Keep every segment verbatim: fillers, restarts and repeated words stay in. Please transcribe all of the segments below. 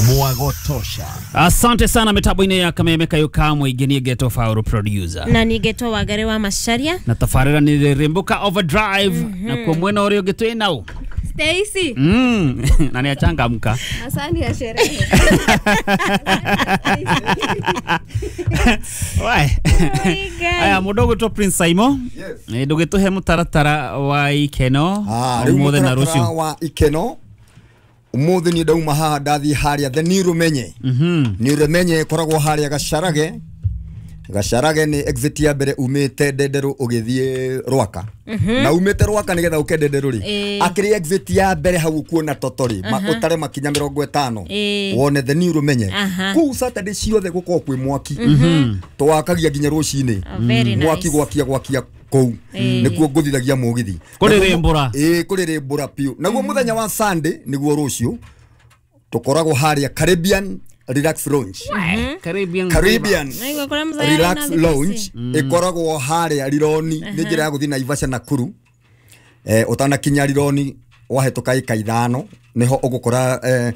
Mwagotosha. Asante sana mitambo-inĩ ya Kameme Kayo Kamwe ingĩ geto Fauro producer. Na ni geto Wangari wa Macharia. Na tabarĩra nĩ Rimbuka Overdrive. Mm -hmm. Na kwa mwena ũrĩa ũngĩ twĩ nao Stacy. Mm. Na ni achangamka. Asante ya sherehe. Wai. Aya mũndũ ũgwĩtwo Prince Simon. Yes. Ndũgĩtũhe mũtaratara wa ikeno. Ah, rĩu na rũciũ. Wa ikeno. Umuthi ni ndauma haha ndathi haria the ni rumenye. Mhm. Ni rumenye koragwo haria Gacarage. Gacarage ni exit ya mbere umite Ndenderu ugithie Rwaka. Na umite Rwaka nigetha uke Ndenderu ri. Akiri exit ya mbere hau kuona totori utare makinya mĩrongo ĩtano. Wone the ni rumenye. Kuu Saturday ciothe gukorwo kwi mwaki. Twakagia nginya rucini. Mwaki gwakia gwakia kou nikuo nguthithagia mugithi kuririmbura eh kuririmbura piu naguo muthenya wa Sunday niguo rucio tukoragwo haria Caribbean Relax Lounge. Caribbean Caribbean Relax Lounge ikoragwo haria Rironi ni njira ya guthi Naivasha Nakuru eh utanakinya Rironi wahetoka ika ithano niho ugukora eh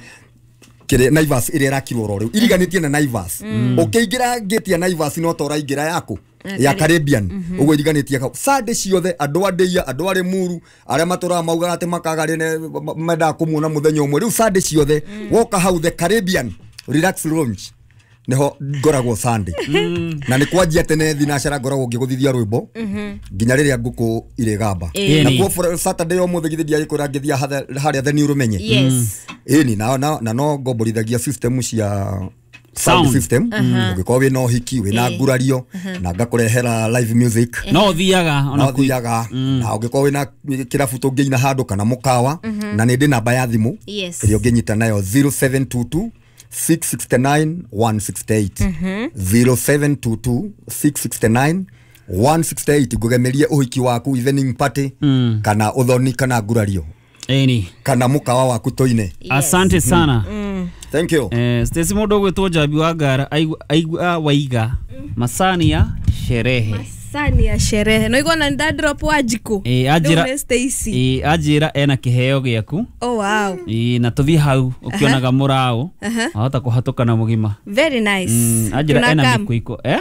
kire Naivas ire irakirwo ro riu iriganitie na Naivas ukiingira gate ya Naivas no tora ingira yaku ya Caribbean uguo iriganitie kau Sunday ciothe andu andeia andu ari muru aria maturaga maugaga ati makaga rene mendaga kumuona muthenya umwe riu Sunday ciothe woka hau the Caribbean Relax Lounge niho ngoragwo Sunday na ni kwanjia tene thinacara ngoragwo ngiguthithia rwimbo nginya riria nguku irigamba na kuo Saturday o muthe githi ndiagikura ngithia haria the ni rumenye. Yes. Ĩni na na no ngomborithagia system cia sound system ugikorwo wina uhiki wina ngurario na ngakurehera live music no thiaga ona thiaga na ugikorwo wina kirabu tungiina handu kana mukawa na ni ndi namba ya thimu ĩrĩa ũngĩnyita nayo zero seven two two six six nine one six eight zero seven two two six six nine one six eight ngugemerie uhiki waku evening party kana uthoni kana ngurario eni kana mukawa waku toine. Asante sana. Mm. Thank you. Eh, Stacy mundu gwitwo Njambi wa Ngara aigua waiga masani ya sherehe. Masani ya sherehe. No igona nda drop wa jiko. Eh, ajira Stacy. Eh, ajira ena kiheo giaku. Oh wow. Eh, na tuthi hau ukionaga murao. Ahota kuhatuka na mugima. Very nice. Mm, ajira ena mikuiko eh?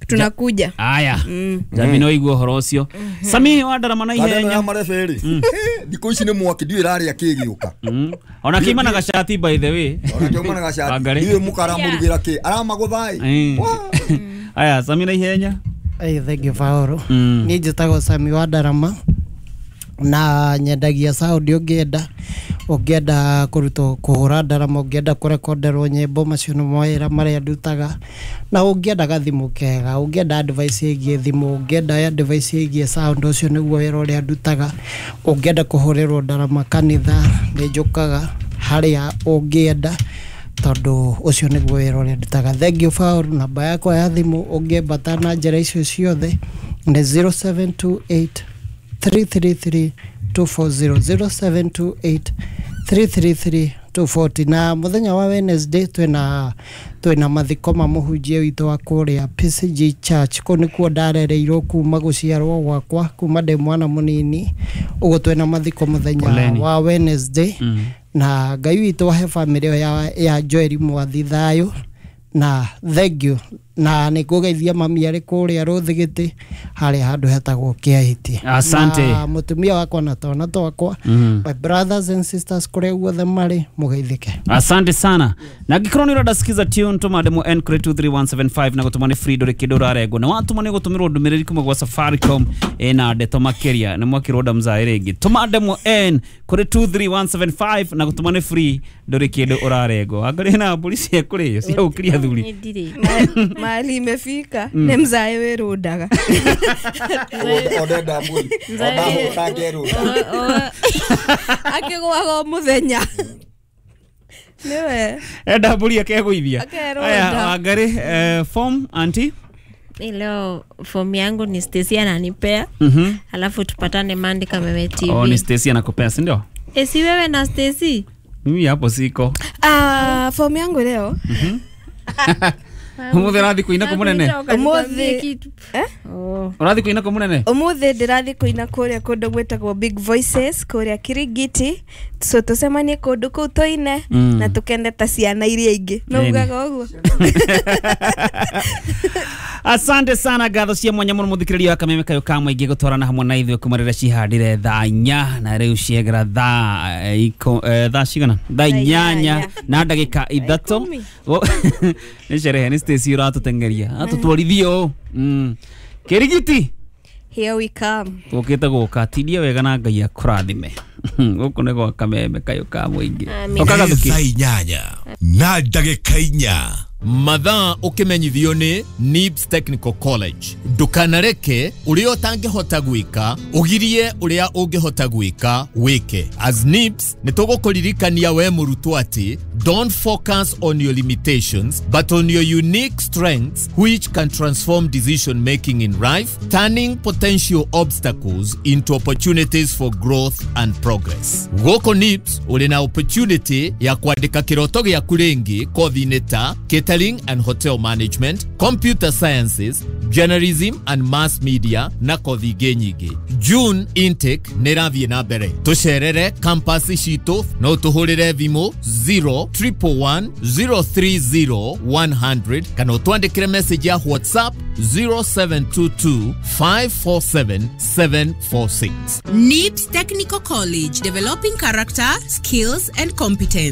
Tunakuja. Aya. Mm. Njambi no igua horo ucio. Sami wa ndarama na ihenya. Ya mareberi. Thikũ ici nĩ mwaki ndiũĩ ĩrarĩa kĩ gĩũka. Ona kiuma na gacati by the way. Ona kiuma na gacati. Ndiũĩ mũka aramũrugĩra kĩ. Aramagũtha ĩ. Aya Sami na ihenya. Hey, thank you Faoro. Niĩ njĩtagwo Sami wa Ndarama na nyendagia sound ũngĩenda ũngĩenda kũrutwo kũhũra ndarama ũngĩenda kũrekonderwo nyĩmbo macio nĩ mawĩra marĩa ndutaga na ũngĩenda gathimũ kega ũngĩenda advice ĩgiĩ thimũ ũngĩenda advice ĩgiĩ sound ũcio nĩguo wĩra ũrĩa ndutaga ũngĩenda kũhũrĩrwo ndarama kanitha nĩ njũkaga harĩa ũngĩenda tondũ ũcio nĩguo wĩra ũrĩa ndutaga. Thank you Faoro. Namba yakwa ya thimũ ũngĩambata na njĩra icio ciothe nĩ zero seven two eight three three three two four zero zero seven two eight three three three two four zero. Na muthenya wa Wednesday twina twina mathiko ma mũhunjia witũ wa kũrĩa P C G Church kũu nĩkuo ndarereirwo kuma gũciarwo gwakwa kuma ndĩ mwana mũnini ũguo twina mathiko mũthenya wa Wednesday. Mm. Na Ngai witũ ahe family ya, ya Joel Mwathi thayũ na thank you na nĩ ngũgeithia mami arĩ kũrĩa Rũthigĩtĩ harĩa handũ hetagwo Kĩahĩti. Asante. Na mũtumia wakwa na twana twakwa mm. my brothers and sisters kũrĩa guothe marĩ mũgeithĩke. Asante sana. Na ngĩkorwo nĩ ũrenda sikiza tune tũma demo N two three one seven five na gũtũma nĩ free ndũrĩ kĩndũ ũrarengwo na watũma nĩ ũgũtũmĩrwo ndũmĩrĩri kuma gwa Safaricom ĩna ndeto makĩria nĩ mwakĩrwo ndamzaĩ rĩngĩ tũma demo N kũrĩ two three one seven five na gũtũma nĩ free ndũrĩ kĩndũ ũrarengwo angorĩ na mbũri cia kũrĩo cia gũkĩria thuri mali imefika mm. Ne mzae werundaga odenda mburi odahutangerunda akigwaga muthenya niwe enda mburi akegũithia. Aya Wangari eh, form auntie leo form yangu ni Stacy ananipea. Mm -hmm. Alafu tupatane Monday Kameme T V. Oh, ni Stacy anakupea si ndio? Eh, si wewe na Stacy? Mimi hapo siko. Ah, uh, form yangu leo. Mhm. Umuthi ũrathiĩ kũina kũ mũnene? Ũmũthĩ- Eh? Ũrathiĩ kũina kũ mũnene? Umuthi ndĩrathiĩ kũina kũrĩa kũndũ gwĩtagwo Big Voices kũrĩa Kirigiti, so tũcemanie kũndũ kũu tũine Mm. na tũkende ta ciana iria ingĩ, no Nini. ugaga ũguo. Asante sana, ngatho cia mwanya muno muthikiriria wa Kameme Kayo ka Mũingĩ gũtwarana hamwe na ithuĩ kuma rĩrĩa cihandire thaa inya na rĩu ciegera thaa eh, iko- eh, thaa cigana, thaa inyanya inyanya. na ndagĩka ithatũ. Ikũmi. Wo- nĩ sherehe, nĩ Stacy ũratũteng'eria atũtwarithie ũũ. Mm. Kĩrigiti. Here we come. Tũkĩte gũka, tindia wega na Ngai akũrathime. Gũkũ nĩ gwa Kameme Kayo ka Mũingĩ. Amen. Ũkagathuki. Thaa inyanya na ndagĩka inya. Mathaa ũkĩmenyithio nĩ NIBS Technical College. Ndũkanareke ũrĩa ũtangĩhota gwĩka ũgirie ũrĩa ũngĩhota gwĩka wĩke. As NIBS nĩ tũgũkũririkania we mũrutwo atĩ don't focus on your limitations but on your unique strengths, which can transform decision making in life, turning potential obstacles into opportunities for growth and progress. Gũkũ NIBS ũrĩ na opportunity ya kwandĩka kĩroto gĩaku rĩngĩ kothi-inĩ ta catering and hotel management, computer sciences, journalism and mass media na kothi ingĩ nyingĩ. June intake nĩ ĩrathiĩ na mbere. Tũcerere campus citũ, no tũhũrĩre thimũ zero triple one zero three zero one hundred kana ũtwandĩkĩre message ya WhatsApp zero seven two two five four seven seven four six. NIBS Technical College, developing character, skills, and competence.